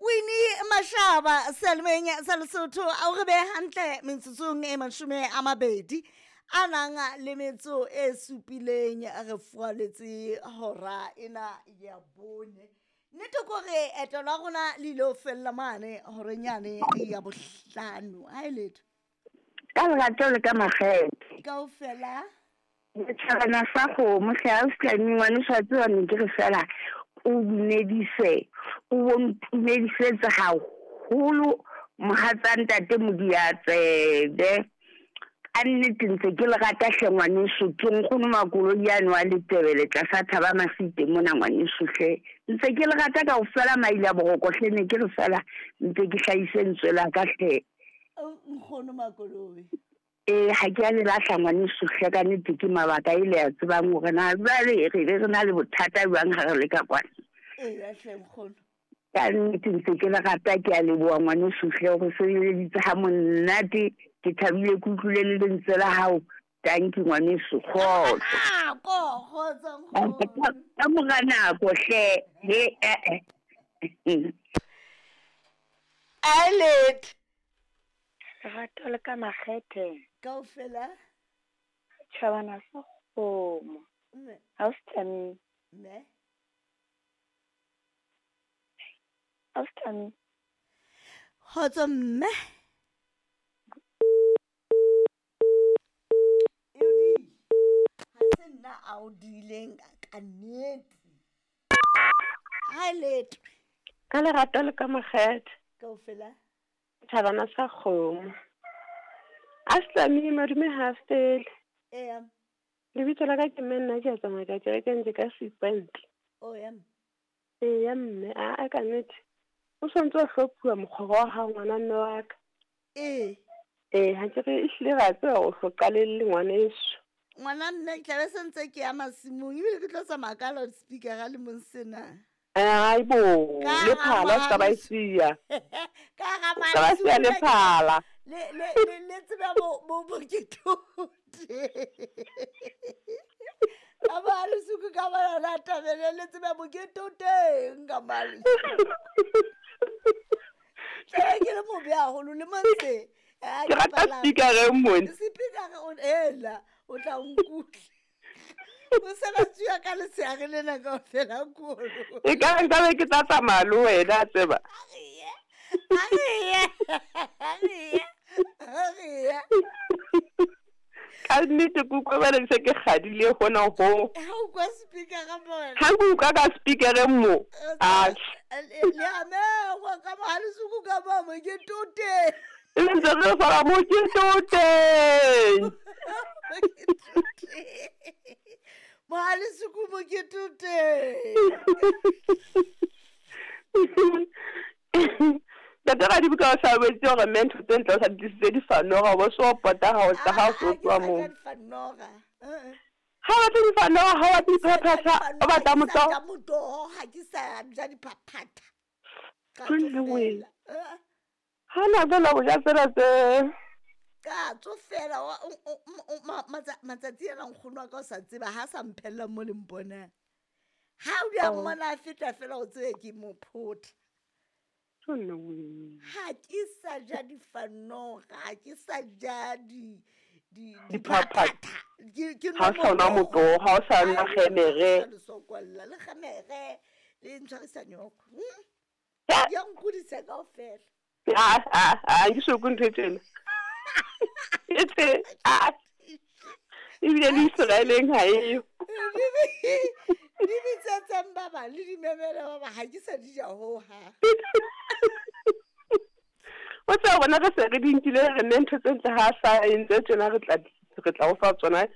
Winnie Mashaba selemeng sa Lesotho a o re be hantle metsotsong e 20 a nang le metso e supileng re fualetse hora ena ya bone. Nnete ke hore eto la rona le ile ho fella mane horeng yane ya bohlano. Ha e letho. Ka lerato le ka makgethe. Kaofela. Setjhabana sa kgomo hle ha o fihlane ngwaneso wa tseba ne ke re fela o dumedise o bo ntumedisetse haholo mohatsa ntate Modiatsebe. Ka nnete ntse ke le rata hle ngwaneso ke nkgono Makoloi yane wa Letebele tlasa Thaba Masite mona ngwaneso hle. Ntse ke le rata kaofela maile a boroko hle ne ke re fela ntse ke hlahise lentswe la ka hle. Nkgono Makoloi. Ee, ha ke a le lahla ngwaneso hle ka nnete ke mabaka e le a tsebang hore na jwale re be re na le bothata jwang ha re le ka kwana. Ee, hle nkgono. Ka nnete ntse ke le rata ke a leboha ngwaneso hle o re sebeleditse ha monate ke thabile ke utlwile le lentswe la hao. Tanki ngwaneso kgotso. Nako kgotso nkgono. Ka mora nako hle he eh eh. Alet. Lerato le ka makgethe. Kaofela. Tjhabana sa kgomo. Mme. Ha o se Mme. Ha o se Kgotso mme. Eudi. Ha se nna a o dileng ka nnete. Ha letho. Ka lerato le ka makgethe. Kaofela. Thabana sa kgomo. A se madume ha fele. Eya. Lebitso la ka ke mme nna ke a tsamaya ka kereke ntse ka sepantle. O ya. Eya mme a ka nnete. O sontse o hlophuwa mokgwa wa hao ngwana mme wa ka. Ee. Ee, ha ke re ehlile ra tseba o hlo qalelle ngwaneso. Ngwana mme ke tlabe se ntse ke ya masimong ebile ke tlo tsamaya ka loudspeaker a le mong sena. Ai bo, Ka le phala o ska ba e siya. Ka ga O ska ba siya le phala. Le le le le tsebe bo bo bo ke thote. Ka ba le suku ka ba la tabele le tsebe bo ke toteng ka ba le. Tlabe ke le mobe haholo le montse. Ke rata speaker e mone. Speaker o ela o tla nkutlwa. O sebetsi ya ka letshehare lena kaofela kolo. E ka re nkabe ke tla tsamaya le wena a tseba. A re ye. A re ye. A re ye. Ka nnete ke utlwa jwale se ke kgadile hona ho. Ha o kwa speaker ka mona. Ha ke utlwa ka speaker mo. A Le a mengwa ka mohale suku ka ba mo ke tote. Le ntse re fara mo ke toteng. Mohale suku mo ke tote. Ntate Radibuka o sa boletse hore mme ntho tse ntle o sa di tlisitse difanoga, o bo so pota ha o tla ha o so tloha moo. Difanoga. Ha o batle difanoga, ha o batle diphaphatha, o batla motoho. Ja motoho, ha ke sa ja diphaphatha. Ka Jwale wena. tsofela. Ha na jwale o ja tsena tse. Ka tsofela matsatsi ana nkgono wa ka o sa tseba ha sa mphella mo le mponang. Ha o di a mmona a feta fela o tsebe ke mo photha. Jwale wena. Ha ke sa ja difanoga, ha ke sa ja di Diphaphatha. diphaphatha. Ke Ha o sa nwa motoho, ha o sa nwa kgemere. Le sokolla le kgemere le ntshwarisa nyoko. Ya. Ya nkudisa kaofela. Ha ke so ntho e tjena. E tse, a. Ebile le Israeleng ha eyo. Di bitsetseng ba bang le di memele ba bang, ha ke sa di ja hohang. O tseba rona re se re di nkile re nne ntho tse ntle ha sa entse tjena re tla o fa tsona.